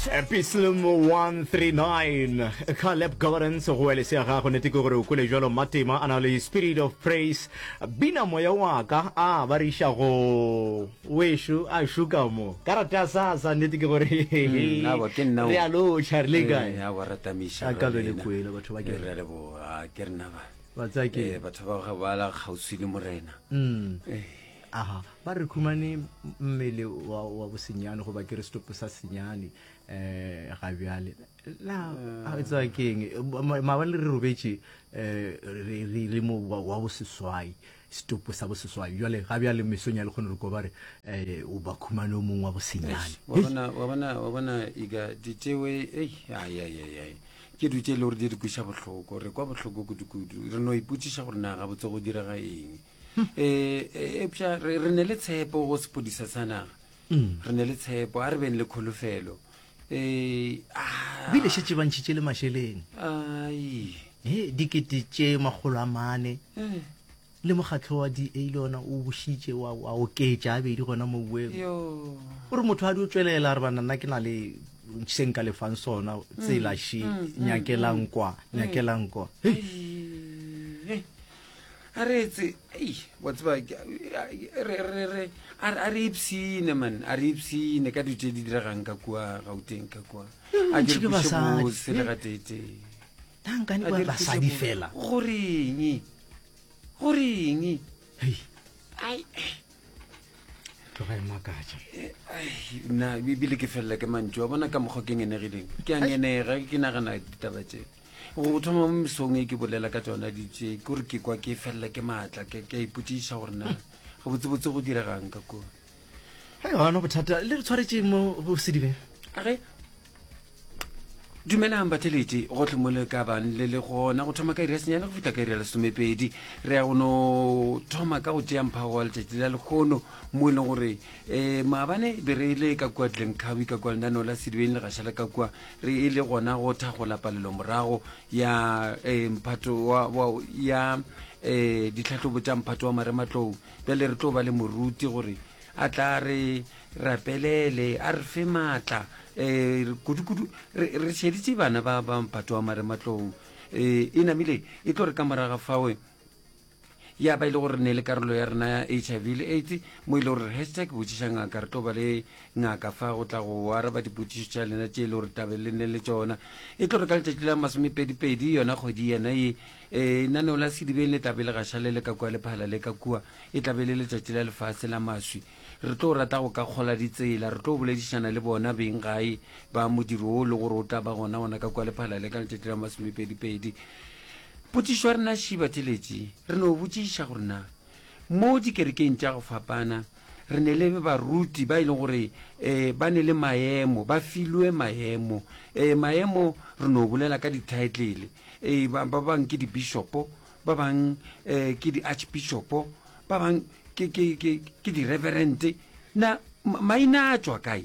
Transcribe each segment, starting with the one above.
Psalm 139 Caleb Governance go wele se ya gago nete ke gore o kwele jalo Matema a na le spirit of praise bina moya wa ka a ba re iša go wešo a šuka mo karata ya sasa nnete ke gore mm, awa, ke nna o. re a lotšha re le kae Eh, awa, ra tamiša, A ka be le lena. kwele batho ba ke Eh, re a leboga Ah, ke rena ba ba tsaya ke Eh, batho ba ga ba la kgauswi le morena Mm. Eh, Aha, ba re khumane mmele wa, wa bosenyane goba ke re setopo sa senyane um ga bjale na a e tseba ke eng maabane re robetše um re re ile mo wa, wa boseswai setopo sa boseswai bjale ga bjale mesong ya lekgono re ko ba re um o ba khumane o mongwe wa bosenyane wa bona wa bona wa bona ika ditšewe ei ai ai ai ai ke dilo tše e le gore di re kweša bohloko re kwa bohloko kudu-kudu re no ipotšiša gore na gabotse go direga eng um eupša re re ne le tshepo go sepodisa sa naga Mm. re ne le tshepo a re beng le kholofelo um bile šetše ba ntšhitše le mašeleng ai e dikete tše 400 Eh. le mokgatlho wa DA le ona o bušitše wa wa oketša a bedi gona mo boeng yo o re motho a di o tšwelela a re bana nna ke na le se nka lefang sona tsela še nyakelang kwa nyakelang kwa Hei, Ei, a re etse ei wa tseba re re re a re ipsine man a re ipsine ka dilo tše di diregang ka kua gauteng ka kua a di ke re kweše basadi. bose le gateetee nankane A ba di re kweše basadi bose. fela goreng goreng hei ai tloga e makatša nna ebile ke felela ke mantšu a bona ka mokgwa ke ngenegileng ke a ngenega ke nagana ditaba tše Go thoma mo mesong e ke bolela ka tšona ditše, ke gore ke kwa ke felela ke maatla, ke ke a ipotšiša gore na gabotsebotse go diregang ka kua. Hei, gona bothata le re tshwaretše mo go sedibeng. Age, dumelang batheletši gohle mo le ka bang le le gona go thoma ka iri ya senyane go fihla ka iri ya lesomepedi re ya go no thoma ka go tšea mphago wa letšatši la lekgono mo e leng gore um maabane be re le ka kua Glencoe ka kua lenaneo la sedibeng le gašala ka kua Re e le gona go thagola palelomorago ya eh, mphato wa, wa, ya eh, ditlhahlobo tša mphato wa marematlou. Bjale re tlo ba le moruti gore a tla re rapelele, a re fe maatla eh, kudu-kudu re, re šeditše bana ba ba mphato wa marematlou. Eh, e namile e tlo re ka moraga fawe ya ba e le gore re ne le karolo ya rena ya hiv le aids mo e le gore hashtag botšiša ngaka re tlo ba le ngaka fa go tla go araba dipotšišo tša lena tše e le gore tabe le ne le tšona e tlo re ka letšatši la masomepedipedi yona kgwedi yena ye um naneo la sedibeng le tlabe le gašale le ka kua lephala le ka kua e tlabe le letšatši la lefase la maswi re tlo rata go ka kgola ditsela re tlo boledišana le bona beng gae ba modiro o le gore o tla ba gona gona ka kua lephala le ka letšatši la masomepedipedi Potšišo ya rena še batheletši, re no botšiša gore na mo dikerekeng tša go fapana re ne le baruti ba e leng gore um ba ne le maemo, ba filwe maemo. Um maemo re no bolela ka di-title, um ba ba bang ke di-bishopo, ba bang um ke di-archbishopo, ba bang ke, ke, ke, ke di-reverend. Na maina a tšwa kae?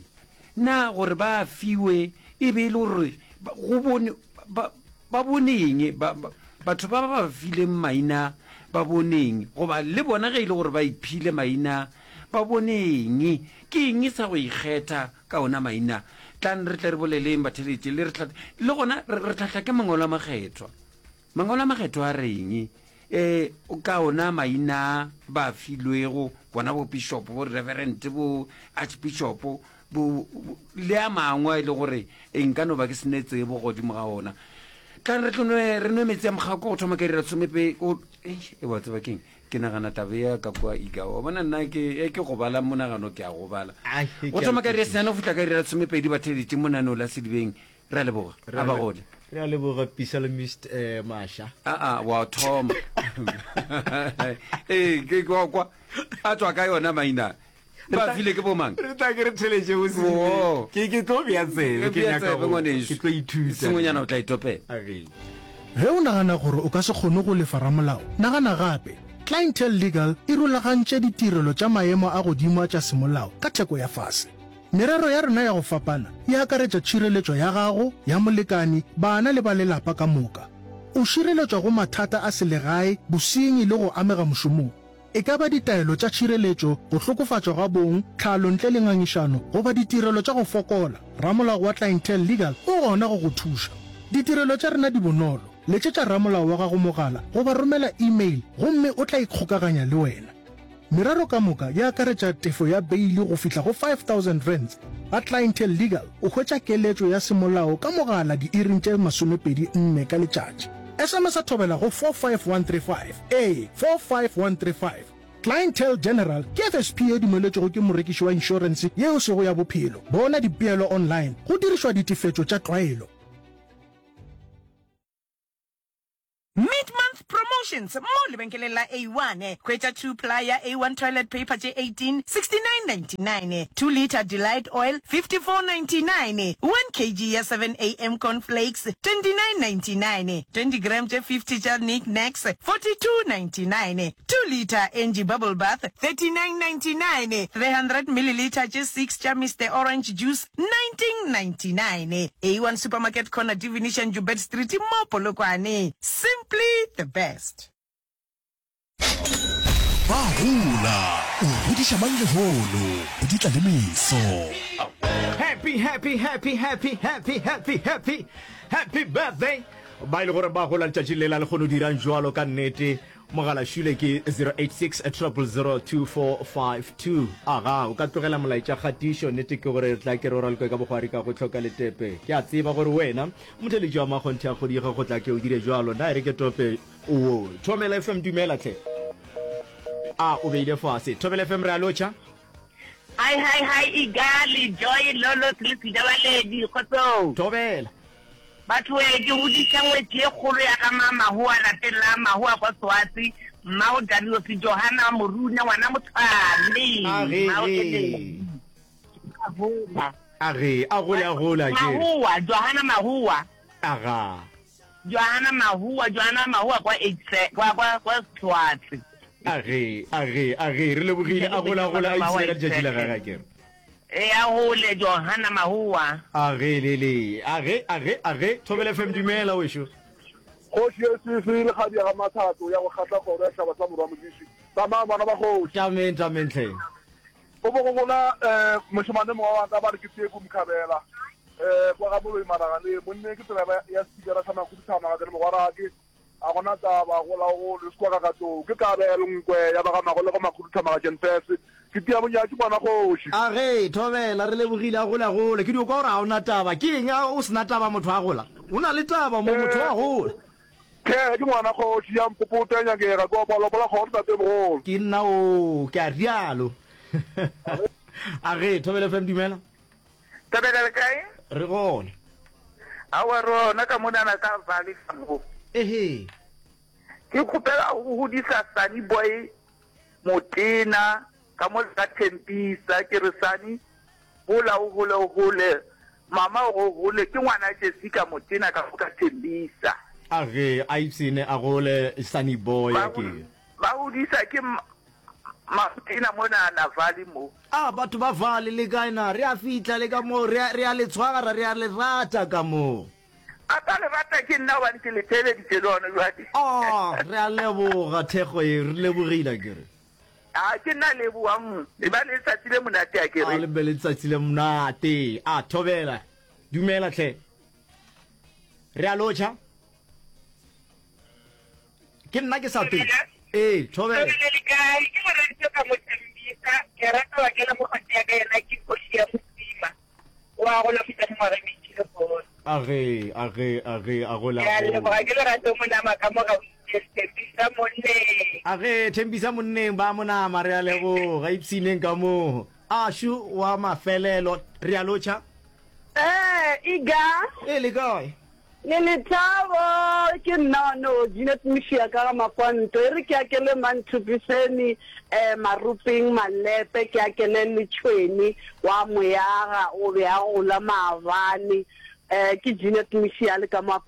Na gore ba a fiwe e be e le gore go bone ba, Ba bone eng? Ba, ba, batho ba ba ba fileng maina ba bone eng? Goba le bona ge e le gore ba iphile maina, ba bone eng? Ke eng sa go ikgetha ka ona maina? Tlang re tle re boleleng, batheeletši, le re hla, le gona re, re hlahla ke Mangwalo a Makgethwa. Mangwalo a Makgethwa a reng e, ka ona maina ba filwego, bona bo bishopo, bo reverend, bo archbishopo, bo, bo, le a mangwe a e le gore e nka no ba ke se ne tsebo godimo ga ona. Tlang re tlo nwe, re nwe metsi a mokgako go thoma ka iri ya lesomepe, o, eish, e wa tseba keng, ke nagana taba ya ka kua Iga. Wa bona nna ke, e ke gobala monagano ke a gobala. Ai, Go ke a thoma ka iri ya kwešiša. senyane go fihla ka iri ya lesomepedi batheeletši monaneo la Sedibeng. Re a leboga. Re A a ba le- gole. re a leboga Psalmist eh, Masha. Aa, wa thoma. Ee, ke ke wa kwa. A tswa ka yona maina. Ba file ke bomang? Re tla ke re theletše Oo. bosele. Ke ke tlo bea tsebe, ke Bea nyaka tsebe, go ngwanešu. ke tlo ithuta. Sengwenyana o tla itopela. Agee. Ge o nagana gore o ka se kgone go lefa ramolao, nagana gape. Clientele Legal e rulagantše ditirelo tša maemo a godimo a tša semolao ka theko ya fase. Merero ya rena ya go fapana e akaretša tšhireletšo ya gago, ya molekani, bana le ba lelapa ka moka. O šireletšwa go mathata a selegae, bosenyi le go amega mošomong. E ka ba ditaelo tša tšhireletšo, go hlokofatšwa ga bong, tlhalo ntle le ngangišano, goba ditirelo tša go fokola, ramolao wa Clientele Legal o gona go go thuša. Ditirelo tša rena di bonolo. Letšetša ramolao wa gago mogala goba romela email gomme o tla ikgokaganya le wena. Merero ka moka e akaretša tefo ya beili go fihla go R5000. Ga Clientele Legal o hwetša keletšo ya semolao ka mogala diiring tše 24 ka letšatši. SMS-a thobela go 45135, ee, 45135. Clientele General ke FSP ye dumeletšwego ke morekiši wa inšorense ye e sego ya bophelo. Bona dipeelo online go dirišwa ditefetšo tša tlwaelo. Mid-month promotions mo lebenkeleng la A1. Hwetša 2 ply ya A1 toilet paper tše 18, 69.99, 2 litre Delight oil, 54.99, 1 kg ya 7am corn flakes, 29.99, 20 gram tše 50 tša Nic Nacs, 42.99, 2 litre Angie bubble bath, 39.99, 300 millilitre tše 6 tša Mister Orange juice, 1999. A1 Supermarket Corner Divination Joubert Street mo Polokwane. Simply the best. Ba gola, o godiša mang lehono, go di tla le meso. Happy happy happy happy happy happy happy happy birthday ba ile gore ba gola letšatši le la le kgono dirang jwalo ka nnete Mogala šule ke 086 000 2452. Aga, o ka tlogela molaetša kgatišo. Nnete ke gore re tla ke re o raloke ka bogwari ka go hloka letepe. Ke a tseba gore wena, motheeletši wa makgonthe a kgodiga go tla ke o dire bjalo. Na e re ke tope wo. Thobela FM, dumela hle. A o beile fase. Thobela FM, re a lotšha. Hi, hi, hi, Igali, Joy, Lolo, le Sejabaledi, kgotsong. Thobela. Batho we, ke godiša ngwetši ye kgolo ya ga ma Mahoa lapeng la Mahoa kwa Soatse, Mmao Dariose Johana Moruna, ngwana Motshwane, Age, Mmao ge. Eledi. A gola. Age, a gole, a gola, ke re. Mahoa, Johana Mahoa. Aga. Johana Mahoa, Johana Mahoa kwa Eight, kwa, kwa, kwa Soatse. Age, age, age, re lebogile, a gola, a gola, a ipshine ka letšatši la gage, a ke re. E a gole Johana Mahowa. A ge le le. A ge, a ge, a ge. Thobela FM dumela wešo. Kgoši ye sese le kgadi ya ga Mathato ya go kgahla kgoro ya setšhaba sa Morwa Modiši. Tsamayang bana ba kgoši. Tameng, tameng hle. Go bo go gola um mošemane mongwe wa ka ba re ke Teku Mkhabela um kwa ga Moloi Maraganeng. Monneng ke tsela ya sepikara sa makhuduthamaga ke re mogwarake. A gona taba, gola o gole, o se kwa ka ka tlou. Ke Kabelo Nkwe ya ba ga Magolego Makhuduthamaga Jenfese. Ke tia bonyatši ngwana kgoši. A ge, Thobela, re lebogile, a gole a gole. Ke dio kwa gore ga o na taba. Ke eng a o se na taba motho a gola? O na le taba mo, motho wa gola. Ke, ke ngwana kgoši ya mpopota ya nyakega, ke opa lopo la kgoro tatemogolo. Ke nna oo, ke a rialo. A ge, Thobela FM, dumela. Thobela le kae? Re gona. Aowa re gona ka monana ka Valley ka mo. Ehe. Ke kgopela go godisa Sunny Boy Motena ka mo ka Thempisa ke re Sunny gola o gole o gole mama o go gole ke ngwana Jessica Motena ka mo ka Thembisa. A ge a ipsene a gole Sunny Boy ke. Ba godisa ke Motena monana Valley mo. A batho ba Vale le kae na? Re a fihla le ka moo, re a, re a le tshwara, re a le rata ka moo. A ka le rata ke nna gobane ke le theeleditše le gona bjale. Oh, re a leboga thekgo ye, re lebogile akere. A ke nna lebogang, e ba le letsatsi le monate akere. A le be le letsatsi le monate. A thobela, dumela hle. Re a lotšha. Ke nna ke sa te. Ee, thobela. Thobela le kae? Ke Moradiso ka mo Tembisa. Ke rata wa kena mokgotsi ya ka yena ke kgoši ya Mosima. O a gola feta mengwaga e mentši le gona. A ge, a ge, a ge, a gola. Ke a leboga ke lerato monama ka mo ga o itse Thembisa monneng. A ge, Thembisa monneng ba monama re a leboga ipshineng ka moo. Ashu wa mafelelo re a lotšha. Ee, Iga. Ee, le kae? Le lethabo, ke nna no Jeanette Mošia ka ga Makwanto. E re ke akele Manthupiseni, eh, Maruping, Malepe, ke akele le Tšhweni wa Moyaga, o be a gola maabane. Eh, ke Jeanette Mošia le ka mo.